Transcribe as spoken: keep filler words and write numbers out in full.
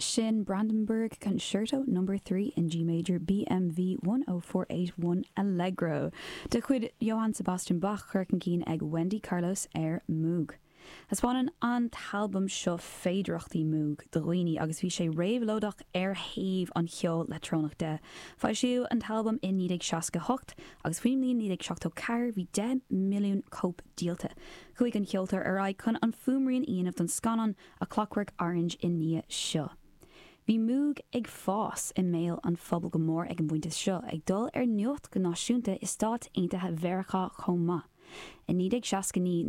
Sin Brandenburg Concerto number three in G major BMV one oh four eight one Allegro de chuid Johann Sebastian Bach curtha chun cinn ag Wendy Carlos ar Moog. Thaispeáin an t-albam seo féidearthachtaí Moog do dhaoine agus bhí sé réabhlóideach ar thaobh an cheoil leictreonach de. Foilsíodh an t-albam in naoi déag seasca hocht agus faoin mbliain naoi déag seachtó ceathair bhí deich milliún cóip díolta. Chuaigh an ceoltóir ar aghaidh chun an fuaimrian a dhéanamh don scannán A Clockwork Orange i ndiaidh seo. Bhí Moog ag fás i mbéal an phobail go mór ag an bpointe seo, ag dul ar nuacht go náisiúnta i Stáit Aontaithe Mheiriceá chomh maith. I naoi déag seasca naoi